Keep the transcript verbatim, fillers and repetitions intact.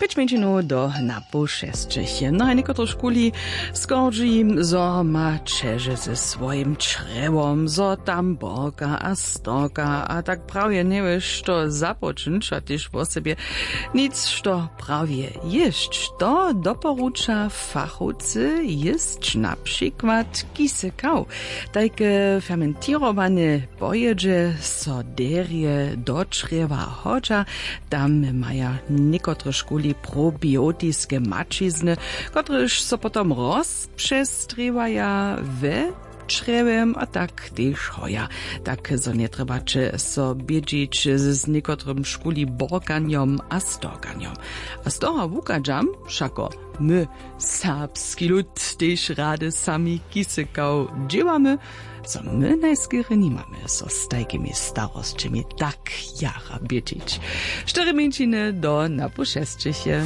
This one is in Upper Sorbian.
Pěć mjeńšinow do na poł šesćich. No a někotrych škuli skordźi jim, zo ma ćeže ze swojim črjewom, zo tam borka a storka a tak prawje njewěš što započnyć a tež wosebje nic što prawje jěsć. To doporuča fachowcy jěsć na přikład kisekaw. Tajke fermentirowanje pojědźe so derje do črjewa hodźa. Tam maja někotre škuli probiotiske maćizny, kotrež so potom rozpřestrěwaja we črjewem a tak tež hoja, tak zo njetrjebaće so bědźić z někotrym škuli borkanjom a storkanjom. A z toho wuchadźam, wšako my, serbski lud, tež rady sami kisekaw dźěłamy, zo my najskerje nimamy so z tajkimi starosćemi tak jara bědźić. Štyri mjeńšiny do na poł šesćich je.